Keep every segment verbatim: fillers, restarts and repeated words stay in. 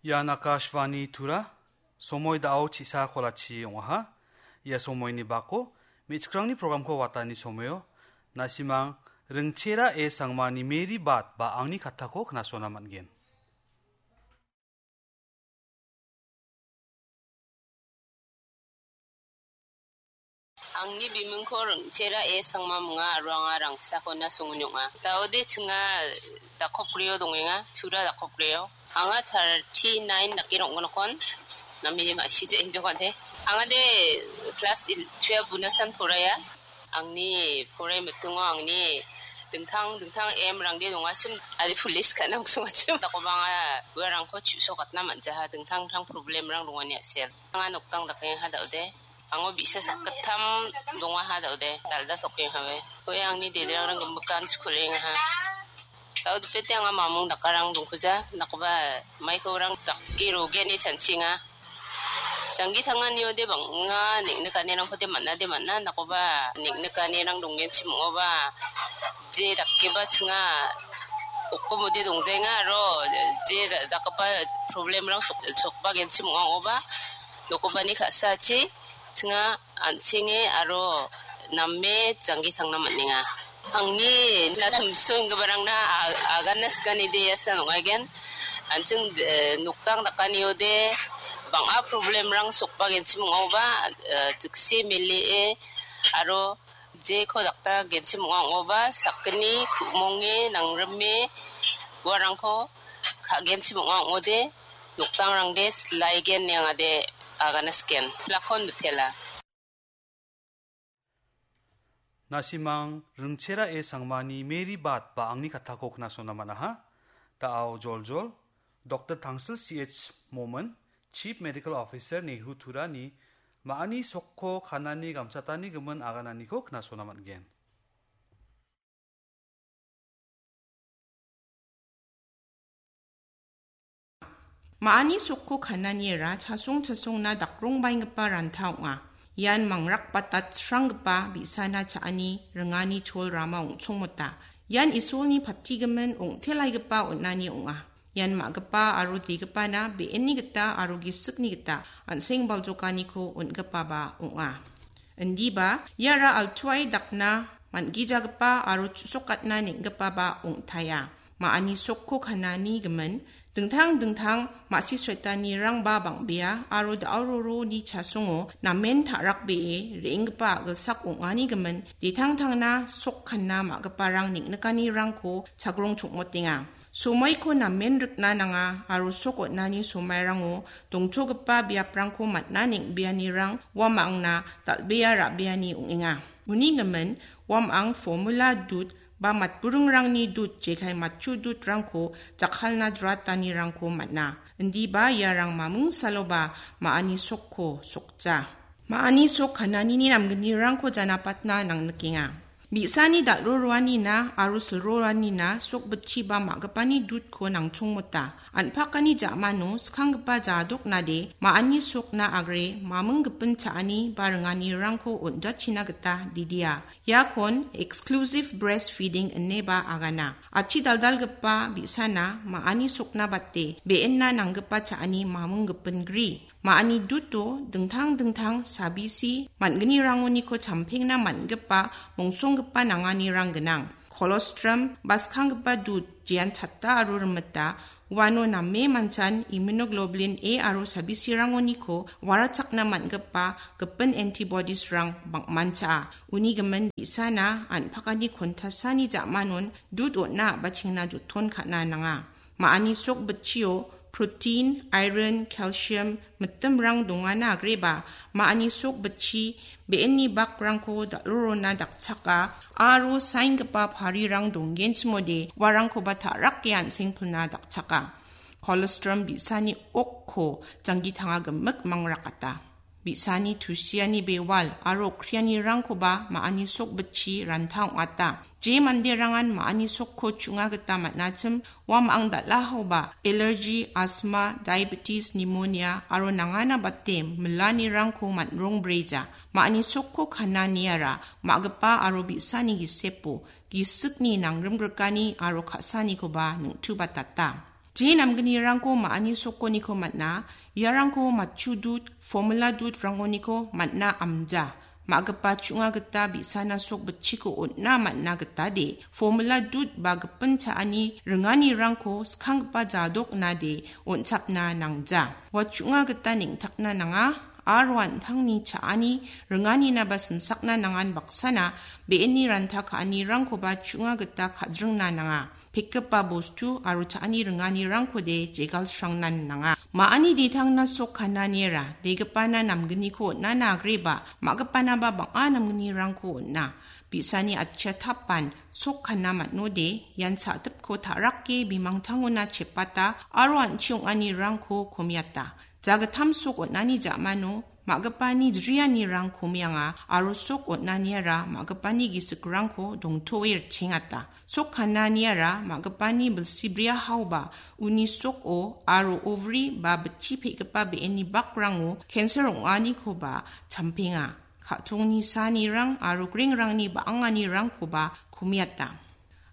Ian Akashvani Tura, somoi da·o chisa kolachi ong·aha. Ia somoini bako me·chikrangni programko watani somoio, nasimang Ringchera A Sangmani Mary Bat ba angni katako knasona man·gen. Angni bimingko Ringchera A Sangma minga aro anga Rangsakona songon ong·a. Da·ode chinga dakopgrio dongenga, Tura dakopgrio. Anga thirty nine dake rong·gnokon, namini ma·sija injokante. Anga de class il-, twelve unasan poraiya. Angni porai mitingo angni dingtang dingtang aim rangde dongachim, ari police ka·na ong·songachim. Dakoba anga uarangko chu·sokatna man·jaha, dingtang dingtang problem rang dongani a·sel. Anga noktang dakengaha da·ode. Ango bi·sa sakgittam dongaha da·ode. Dalda sokenghawe. Oe angni dederangrang gimikkan skulengaha. Da·o dipete anga mamung dakarang dongkuja. Nakoba maiko rang dake rogeni chanchinga. Janggi tanganiode bang·a neng·nikanirangkode man·ade man·a, nakoba neng·nikanirang donggenchim ong·oba, je dakeba chinga okkomode dongjaenga aro je da-, dakgipa problemrang sok-, sokbagenchim ong·a ong·oba, nokobani ka·sachi chinga an·senge aro name janggi tangna man·enga. Angni na tumso inggiparangna a-, agana sikanide ia san ong·aigen. An·ching, eh, noktang dakaniode bang·a problemrang sokbagenchim ong·aoba, eh, jikse melie aro jeko dakta genchim ong·a ong·oba, sakgni ku·monge nangrime uarangko ka·genchim ong·a ong·ode, noktangrangde silaigen niangade agana siken. Lakon mitela. Nasimang Ringchera A Sangmani Mary Bat ba angni katako knasona man·aha. Da·ao joljol, Doktor Tangsil C H Momin, Chief Medical Officer Nehu Turani, ma·ani sokko kanani gamchatani gimin agananiko knasona man·gen. Ma·ani sokko kananiara chasong chasongna dakrongbaenggipa ranta ong·a. Ian mangrakbata sranggipa bi·sana cha·ani ringani chol rama ong·chongmota. Ian Isolni patigimin ong·telaigipa on·ani ong·a. Ian ma·gipa aro degipana be·enni gita aro gisikni gita an·seng baljokaniko on·gipaba ong·a. Indiba iara altuae dakna man·gijagipa aro chu·sokatna neng·gipaba ong·taia. Ma·ani sokko kanani gimin dingtang dingtang ma·sisretanirangba bang·bea aro da·o roroni chasongo namen ta·rakbee re·enggipa a·gilsak ong·ani gimin detangtangna sok kanna ma·giparang neng·nikanirangko chagrong chongmotenga. Somoiko namen rikna nanga aro sok on·ani somairango dongtogipa biaprangko man·na neng·beanirang uamangna dal·bea ra·beani ong·enga. Uni gimin uamang formula dud ba matburingrangni dud jekai matchu dudrangko jakkalna jratanirangko man·a. Indiba iarang maming saloba ma·ani sokko sokja. Ma·ani sok kananini namgnirangko janapatna nangnikenga. Bi·sani dal·ro roanina aro silro roanina sok bitchiba ma·gipani dudko nangchongmota. An·pakani ja·mano skanggipa jadoknade ma·ani sokna agre maming gipin cha·ani ba ringanirangko on·jachina gita didia. Iakon exclusive breastfeeding ineba agana. Achi daldalgipa bi·sana ma·ani sokna bate be·enna nanggipa cha·ani maming gipin gri. Ma·ani duto dingtang dingtang sabisi man·gnirangoniko champengna man·gipa mongsonggipa nanganirang gnang. Kolostrum, ba skanggipa dud, jean chatta aro rimita, uano name manchan immunoglobulin A aro sabisirangoniko warachakna man·gipa gipin antibodiesrang bang·mancha. Uni gimin bi·sana an·pakani kontasani ja·manon dud on·na a·bachengna joton ka·na nanga. Ma·ani sok bitchio protein, iron, calcium, mitimrang dongana agreba, ma·ani sok bitchi be·enni bakrangko dal·rorona dakchaka, aro saenggipa parirang donggenchimode uarangkoba ta·rake an·sengpilna dakchaka. Kolostrum bi·sani okko janggi tanga gimik mangrakata. Bi·sani tusiani bewal aro okrianirangkoba ma·ani sok bitchi ranta ong·ata. Je manderangan ma·ani sokko chu·nga gita man·achim, uamang dal·ahoba allergy, asthma, diabetes, pneumonia aro nangana bate milanirangko man·rongbrija. Ma·ani sokko kananiara ma·gipa aro bi·sani gisepo gisikni nangrimgrikani aro ka·sanikoba ningtubatata. Je namgnirangko ma·ani sokoniko man·a, iarangko matchu dud, formula dud rangoniko man·a amja. Ma·gipa chu·nga gita bi·sana sok bitchiko on·na man·a gita de, formula dud ba gipin cha·ani ringanirangko skanggipa jadok nade on·chapna nangja. Ua chu·nga gita neng·takna nanga, aro an·tangni cha·ani ringanina ba simsakna nangan baksana be·eni ranta ka·anirangkoba chu·nga gita ka·dringna nanga. Pekgipa bostu aro cha·ani ringanirangkode jegalsrangnan nanga. Ma·ani detangna sok kananiara, degipana namgniko on·ana agreba, ma·gipanaba bang·a namgnirangko on·a. Bi·sani atchia tapan sok kana man·ode, ian sa·tipko ta·rake bimangtangona chepata aro an·chi ong·anirangko komiata. Jagittam sok on·ani ja·mano ma·gipani drianirang komianga aro sok on·aniara ma·gipani gisikrangko dongtoe ritchengata. Sok kananiara ma·gipani bilsibria haoba uni soko aro ovary ba bitchi pe·gipa be·eni bakrango cancer ong·anikoba champenga. Ka·tongni sanirang aro grengrangni ba·anganirangkoba komiata.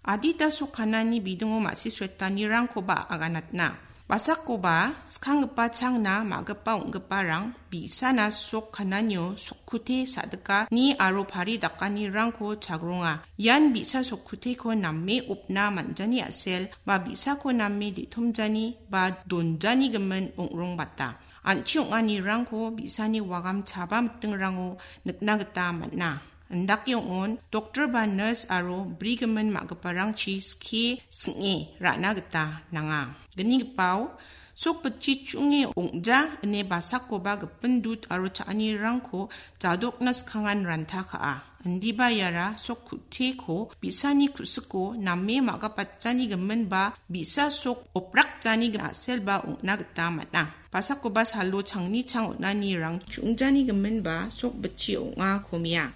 Adita sok kanani bidingo ma·sisretanirangkoba aganatna. Basakoba skanggipa changna ma·gipa ong·giparang bi·sana sok kananio sokkute sa·dika ni aro pari dakanirangko chagronga. Ian bi·sa sokkuteko name opna man·jani a·sel ba bi·sako name de·tomjani ba donjani gimin ong·rongbata. An·chi ong·anirangko bi·sani wagam chaba mitingrango nikna gita man·a. Indake ong·on, doktor ba nurse aro brigimin ma·giparangchi skie sing·e ra·na gita nanga. Gnigipao, sok bitchi chu·nge ong·ja ine basakoba gipin dud aro cha·anirangko jadokna skangan ranta ka·a. Indiba iara sok ku·teko bi·sani ku·siko name ma·gapatjani gimin ba bi·sa sok oprakjani a·selba ong·na gita man·a. Basakoba salo changni chang on·anirang chu·ongjani gimin ba sok bitchi ong·a komia.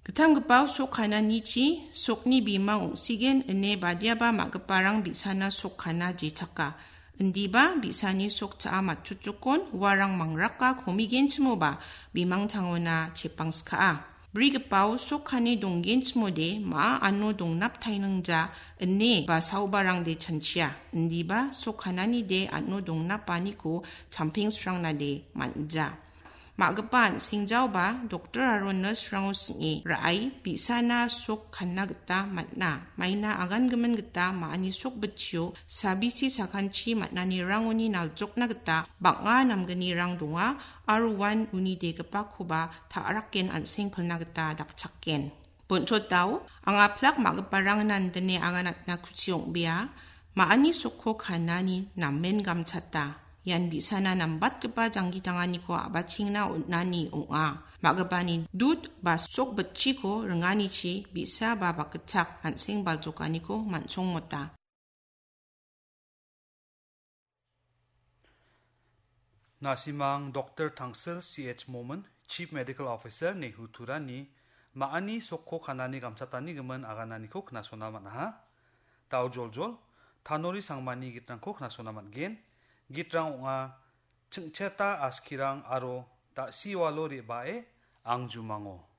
Gittamgipao sok kananichi sokni bimang ong·sigen ine badiaba ma·giparang bi·sana sok kana jechaka. Indiba bi·sani sok cha·a matchotjokon uarang mangraka komigenchimoba bimangtangona chepangska·a. Brigipao sok kane donggenchimode ma·a ano dongnaptainingja ine ba saobarangde chanchia. Indiba sok kananide ano dongnapaniko champengsrangnade man·ja. Ma·gipa an·sengjaoba doktor aro nurse-rango sing·e ra·ai bi·sana sok kanna gita man·a. Maina agangimin gita ma·ani sok bitchio sabisi sakanchi man·anirangoni naljokna gita bang·a namgnirang donga aro uan uni degipakoba ta·raken an·seng pilna gita dakchaken. Bonchotao, anga plak ma·giparangna indine aganatna kuchi ong·bea. Ma·ani sokko kanani namen gamchata. Ian bi·sana nambatgipa janggi tanganiko a·bachengna on·ani ong·a. Ma·gipani dud ba sok bitchiko ringanichi bi·sa ba bakgitchak an·seng baljokaniko man·songmota. Nasimang Doktor Tangsil C H Momin, Chief Medical Officer, Nehu Turani, ma·ani sokko kanani gamchatani gimin agananiko knasona man·aha. Dao joljol, Tanori Sangmani gitrangko knasona man·gen. Gitrang ong·a, Chingcheta Askirang aro Da·siwalo Re·bae Angjumango.